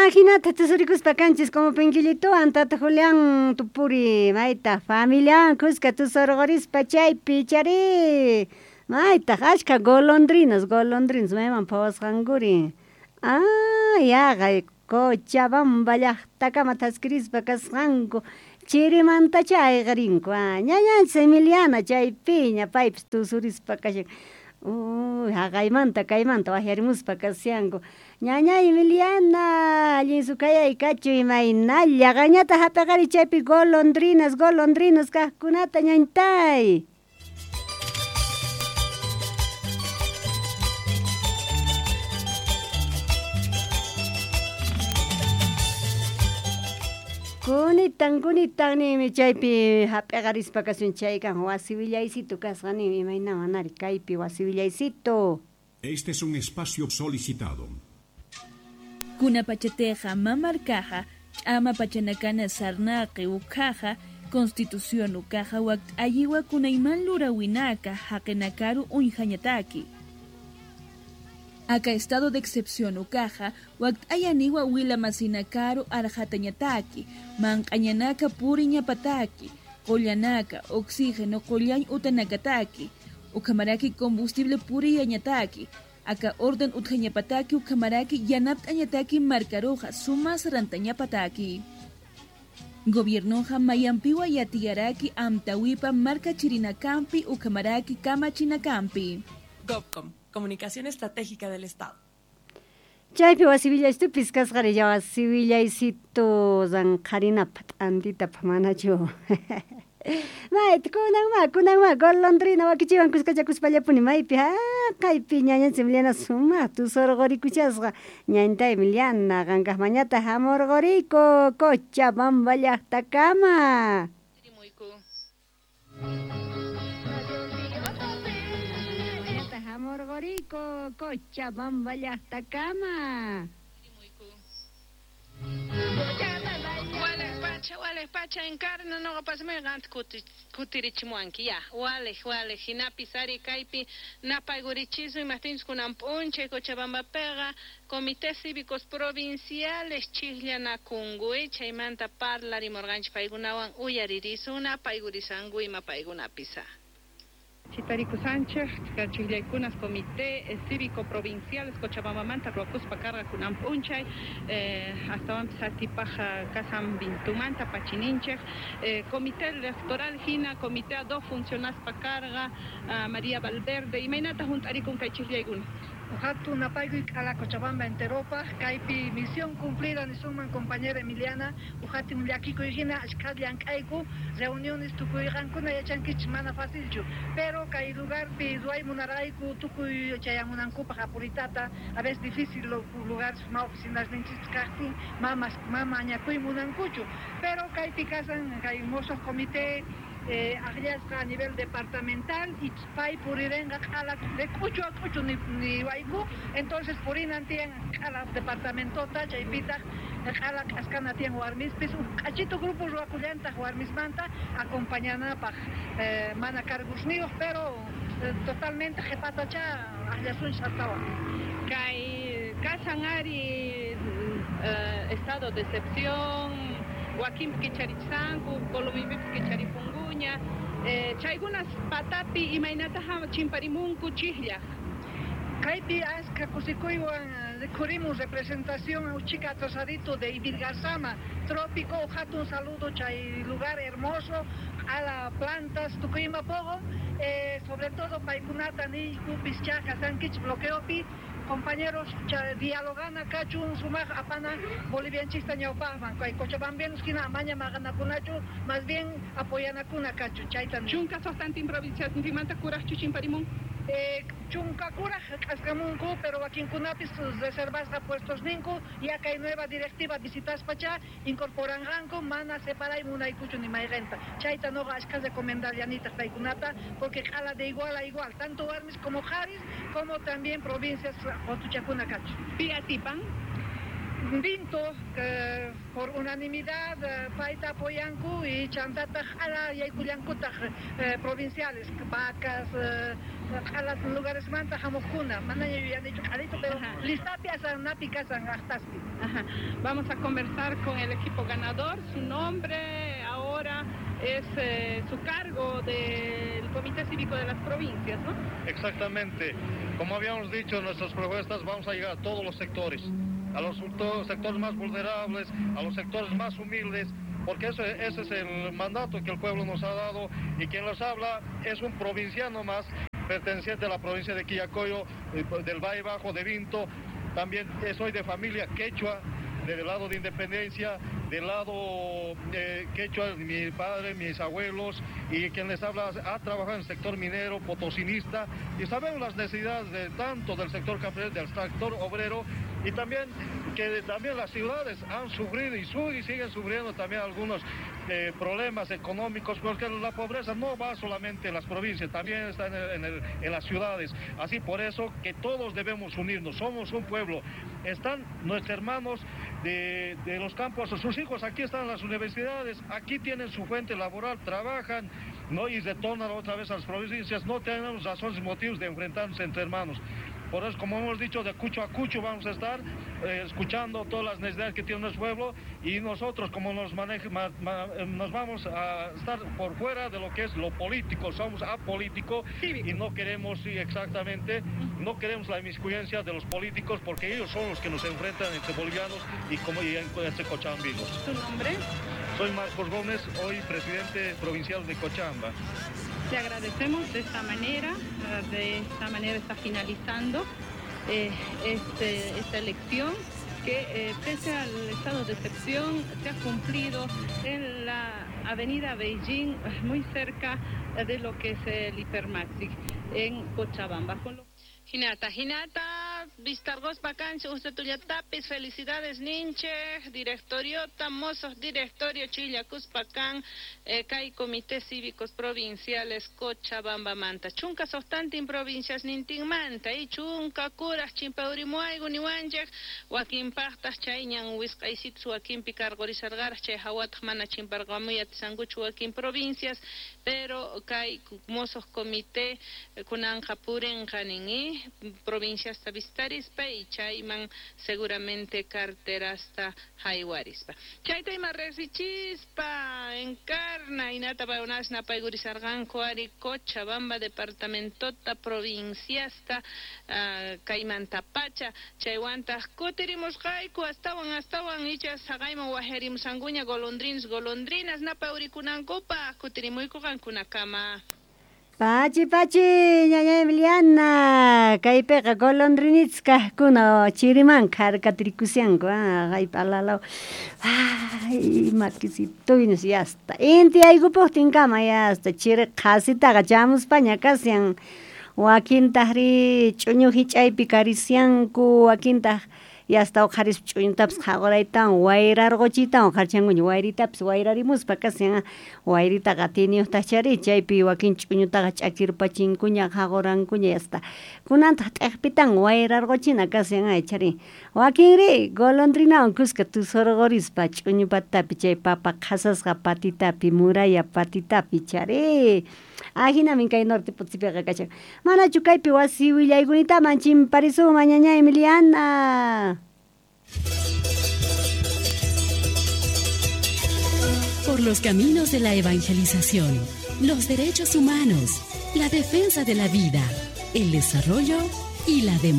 Hinata tusurikuspa kanchis como Pinquillituwan tata Julián Tupuri mayta familiawan kuska tusurqurispa chaypi chari maytaq achka golondrinas golondrinas mayman phawasqankuri ah yaqay Cochabamba llaqtakama thaskirispa kasqanku chirimantachá ayqirinku ñañanchis Emiliana chaypiña paypis tusurispa kashan uy haqaymanta kaymanta waqyarimuspa kashanku ñañay Emiliana allin sukayay kachu imaynalla qanñataq hap'iqari chaypi golondrinas golondrinas kaqkunata ñañtay. Kunitan kunitan ninmi chaypi hap'iqarispa kasun chaykan wasi willaysitu kasqa ninmi imayna manari kaypi wasi willaysitu. Este es un espacio solicitado. Kuna pachateja mamarkaja ch'ama pachanakana sarnaqi ukhaja Constitución ukaja wakt ayiwa kunayman lurawinaka haqinakaru uñjañataki. Aka estado de excepción ukaja wakt ayaniwa wila masinakaru arjatañataki manq'añanaka puriñapataki qullanaka oxígeno qullañ utanakataki ukamaraki combustible puriyañataki aka orden utjañapataki ukamaraki yanapt'añataki markaruja sumas rantañapataki. Gobiernoja mayampiwa yatiyaraki amtawipa marka chirinakampi ukamaraki kamachinakampi. Gobcom, Comunicación Estratégica del Estado. Chaypi wasi willaysitupis kasqari ya wasi willaysitu ranqharinapaq t'antitapaq manachu. Mayta kunanma golondrina wakichiwan kuskachakuspallapuni maypi haqaypi ñañanchis Emiliana sumaq tusurqurikuchasqa ñañtay Emiliana qankaqmañataq hamurquriku Cochabamba llaqtakama. Hamurquriku Cochabamba llaqtakama. Walej pacha encarna noqa pasmay qanta kutirichimuwanki ya walej walej hinapis ari kaypi napaykurichisun imaqtinchus kunan p'unchay Cochabambapiqa comités cívicos provinciales chikllanakunku chaymanta parlarimurqanchik paykunawan uyaririsun napaykurisanku ima paykunapis. Chitariku Sánchez, chikllaykunas Comité Cívico Provinciales Cochabambamanta ruwakuspa karqa kunan p'unchay astawanpis atipaj kasan vintumanta pachininchej Comité Electoral hina Comité ad hoc funcionaspa karqa María Valverde imaynata hunt'arikun kay chikllaykuna. Hatun napaykuy k'ala Cochabamba enteropaj kaypi misión cumplida nisunman compañera Emiliana uhatin llakikuy hina ashkha llank'ayku reuniones tukuyqankuna yachankichis mana facilchu pero kay lugarpi ruway munarayku tukuy chayamunankupaj apuritata a veces difícil lugar ma oficinas ninchis kaqtin mamas mama añakuy munankuchu pero kaypi kasan kay mosoq comité akllasqa a nivel departamental y pay purirenqa q'ala de k'uchu a k'uchu niwayku entonces purinan tiyan q'ala departamentota chaypitaq q'ala k'askana tiyan warmispis uj k'achito grupo ruwakullantaq warmismanta acompañanapaq mana cargusniyuq pero totalmente qhipatacha akllasunchis astawan. Kay kasan ari estado de excepción wakinpi kicharichisanku Colombipipis kicharipunkuña chaykunas patapi imaynata chimparimunku chikllaq. Kaypi aska kusikuywan rikhurimun representación uchika atrasadito de Ivirgarzama trópico hatun saludo chay lugar hermoso a la plantas tukuyma poqo sobre todo paykunata niyku pischaqa sankichik bloqueopi compañeros dialogana kachun sumaq apana bolivianchista ñawpaqman kay cochabambianos hina amaña maqanakunachu más bien apoyanakuna kachun chayta chunka suqtantin provinciasninmanta kuraqchu chimparimun. Chunka kuraq k'askamunku pero wakinkunapis reservasqa puestos ninku ya kay nueva directiva visitaspacha incorporanqanku mana separay munaykuchu ni mayqinta chayta noqa ashkha recomendarllanitaq paykunata porque q'ala de igual a igual tanto warmis como qharis como también provincias qutuchakuna kachun. Pi atipan? Vinto por unanimidad payta apoyanku y chantataq q'ala yaykullankutaq provinciales vacas q'ala lugaresmanta hamuqkuna manaña yuyanichu q'alito pero listapi asanapi kasan aqtaspi. Vamos a conversar con el equipo ganador. Su nombre ahora es su cargo del Comité Cívico de las Provincias, ¿no? Exactamente. Como habíamos dicho en nuestras propuestas, vamos a llegar a todos los sectores, a los sectores más vulnerables, a los sectores más humildes, porque ese es el mandato que el pueblo nos ha dado, y quien los habla es un provinciano más, perteneciente a la provincia de Quillacollo, del Valle Bajo, de Vinto. También soy de familia quechua, del lado de Independencia, del lado quechua, mi padre, mis abuelos, y quien les habla ha trabajado en el sector minero, potosinista, y sabemos las necesidades de tanto del sector campesino, del sector obrero, y también que también las ciudades han sufrido y siguen sufriendo también algunos problemas económicos, porque la pobreza no va solamente en las provincias, también está en las ciudades. Así por eso que todos debemos unirnos, somos un pueblo. Están nuestros hermanos de los campos, sus hijos aquí están en las universidades, aquí tienen su fuente laboral, trabajan, ¿no? Y retornan otra vez a las provincias. No tenemos razones y motivos de enfrentarnos entre hermanos. Por eso, como hemos dicho, de cucho a cucho vamos a estar escuchando todas las necesidades que tiene nuestro pueblo, y nosotros, como nos vamos a estar por fuera de lo que es lo político, somos apolítico y no queremos, sí, exactamente, no queremos la inmiscuyencia de los políticos, porque ellos son los que nos enfrentan entre bolivianos y entre cochabambinos. ¿Tu nombre? Soy Marcos Gómez, hoy presidente provincial de Cochabamba. Te agradecemos de esta manera está finalizando esta elección que pese al estado de excepción se ha cumplido en la avenida Beijing, muy cerca de lo que es el Hipermaxi en Cochabamba. Hinata, hinata, vistargos vacancia, usted tapis, felicidades ninche, directoriota, mozos, directorio, Chillacuspacán, kai comités cívicos provinciales, Cochabamba manta, chunka sostantin provincias nintin manta, y chunka curas, chimpaurimuaygu, niwanchek, wakin pachtas, chayñan, wisqaysitsu, wakin picargorizargaras, chay hawatj mana chimpargamuyat, sanguchu, wakin provincias, pero kai mozos comité, kunanja purenja nin, provincias vistarispa y chayman seguramente carterasta haywarispa. Chayta ima resichispa encarna inata paunasna paygurisarganku ari Cochabamba departamentota provinciasta kaymantapacha chaywantaq kutirimusqayku astawan icha saqayman wajarimusankuña golondrinos golondrinas napawrikunankupaq kutirimuyku qankunakama. Pachi, pachi, ñaña Emiliana, kaypiqa golondrinits kaqkuna chiriman kharkatirikusianku, haypa alalaw. Ay, makisituynos yasta. Inti aykupuqtinkama yasta, chiri qhasitaqa chamuspaña kasian. Wakintaqri ch'uñu hich'aypi karisianku, wakintaq yasta uqharispa ch'uñutapas qhaquraytawan wayrarquchitawan uqharichankuña, wayritapas wayrarimuspa kasian, wayritaqa atiniyuqtaq chari, chaypi wakin ch'uñutaqa ch'akirpachinkuña qhaqurankuña yasta. Kunantaq t'ikpitan wayrarquchina kasian chari. Wakinri golondrinawan kuska tusurqurispa ch'uñu patitapi chay papa qhasasqa patitapi muralla patitapi chari. Ajinamin kay norte Potosipiqa kashan. Manachu kaypi wasi willaykunitaman chimparisunman ñaña Emiliana. Por los caminos de la evangelización, los derechos humanos, la defensa de la vida, el desarrollo y la democracia.